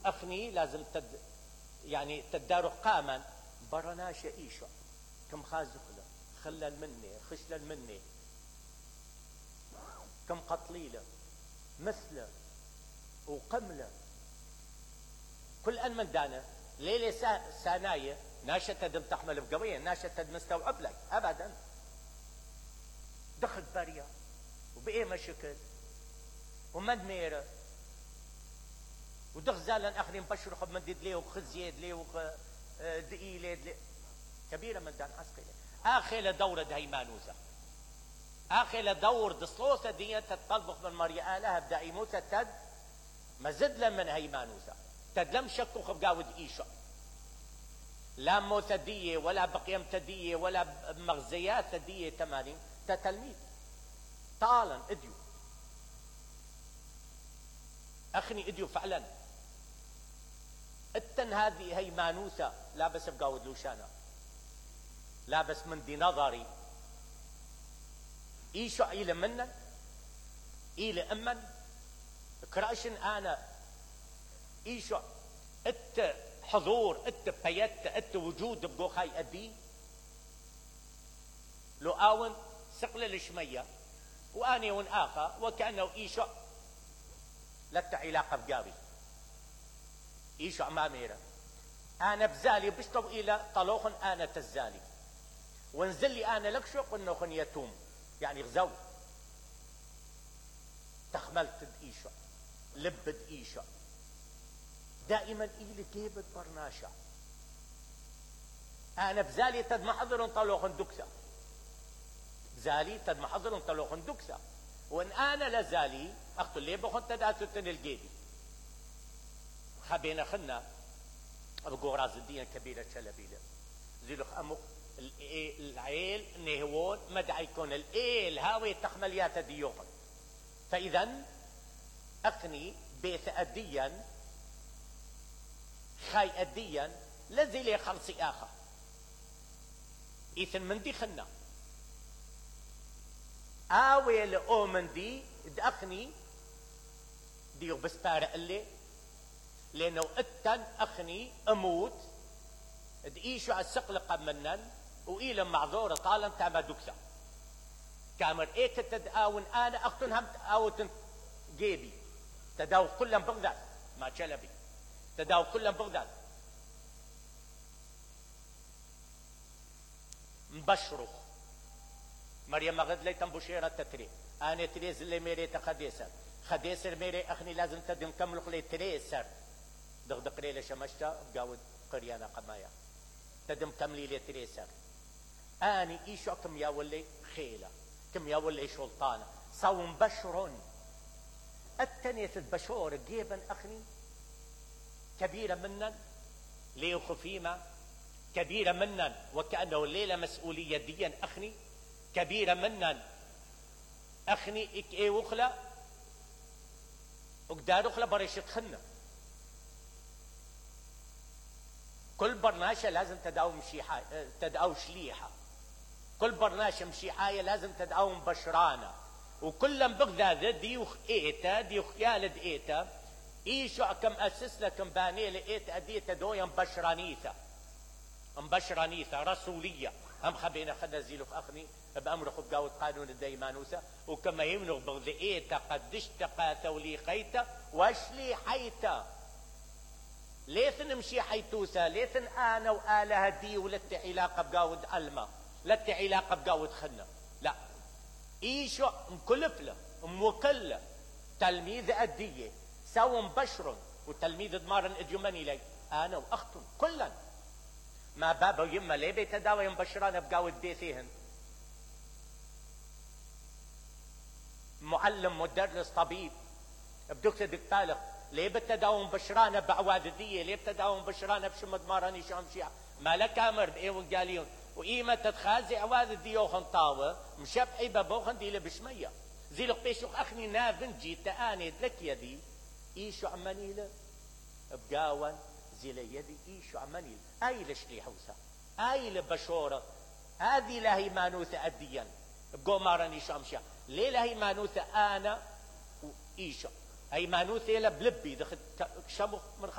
اخني لازم يعني تدارو قاما برناش ايشو كم خازقله خلل مني خشلل مني كم قتليله مثله وقمله كل ان من دانا ليلة ساناية ناشة تدم تحمل بقوية ناشة تدم مستوعب لك ابدا دخل بريا وبايه مشكل ومد ميره ودخ زالا اخري مبشرخ بمدد ليه وخزيد ليه دقي ليه كبيرة من دان عسقلة اخي دورة هيمانوسة اخي دور دصلوسة دي تطلبخ من مريا لها بدايموسة تد مزدلا من هيمانوسة تد لم شكو خبقاود ايشا لا موثدية ولا بقيم تدية ولا مغزيات تدية تمانين تتلميذ طالا اديو اخني اديو فعلا التن هذه هيمانوسة لابس بقاود لوشانا لابس من دي نظري ايشو ايل منا ايل امن كراشن انا ايشو ات حضور ات بيت ات وجود بقوخاي ادي لو اون سقل الشمية واني ون اخا وكأنه ايشو لتا علاقة بقاوي ايشو اماميرا انا بزالي بشطب الى طلوخن انا تزالي ونزل لي انا لكشوق انه يتوم يعني غزو تخملت ايشو لبد ايشو دائما الى جيبت برناشا انا بزالي تد محضر طلوخن دكسا بزالي تد محضر طلوخن دكسا وان انا لزالي اخذ لي بخن تداتن الجيبي خبينا خنا ابو راس الدين كبيره شلبيله زيلخ امو العيل نهوون مدعي يكون الايل هاوي تخمليات ديوخن فاذا اقني بيت اديا خاي اديا لذي لي خلصي اخر ايثن من دي خنا اوي لأومن دي اخني ديو بس بارق اللي لانه اتن اخني اموت دقيشو على السقل قمنن وإلى معذورة طالا تاما دوكسا كامر ايك تداون انا اختن هم تاوتن جيبي تداو كلهم بغداد ما شلبي تداو كلهم بغداد مبشرخ مريم مغد ليتم بشيرة تتري انا تريز اللي ميري تخديسر خديسر ميري اخني لازم تدم كملخ لي تريسر دغدق ليلة شمشتا بقاود قريانا قمايا تدم كملي لي تريسر اني ايشو كم ياولي خيلة كم ياولي شلطانة صوم بشرون التنية البشور جيبا اخني كبيرة منن ليو خفيمة كبيرة منن وكأنه الليلة مسؤولية ديا اخني كبيرة منن اخني اك اي وخلا وقدار وخلا بريش تخنا كل برناشة لازم تداوم تداو شليحة كل برناشة مشيحاية لازم تداوم بشرانة وكلهم بغداد ديوخ ايتا ديوخ يالد ايتا ايشو كم اسس لكم باني لايتا ديتا دويا مبشرانيثة رسولية هم خبينا خدنا زيلوخ اخني بامرخ بقاوة قانون الديمانوسة وكما يمنغ بغذ ايتا قدش تقاتا وليقيتا واشلي حيتا ليثن مشي حيتوسا ليثن انا وآلها دي ولت علاقة بقاود علمة لت علاقة بقاود خنا لا ايشو مكلفلة موكلة تلميذ ادية سو مبشر وتلميذ دمارن اديوماني لي انا واختن كلا ما بابا يما ليه بيتداوى مبشران بقاود بيثيهن معلم مدرس طبيب بدك تدك بالغ ليه بتداوم بشرانه بعوادديه ليه بتداوم بشرانه بشمد ماراني شامشيع ما لك امر بايه وقاليون وايمه تتخازي عوادديه وخنطاوه مشبعي ببوخن دي بشميه زي لك بيشوخ اخني نافن جيت اني لك يدي ايشو عمانيله بقاون زي يدي ايشو عمانيل اي لشلي حوسه اي لبشوره هذه لهي مانوثه اديا بقو ماراني شامشيع ليه لهي مانوثه انا وايشو هي مانوثه بلبي دخل شمخ من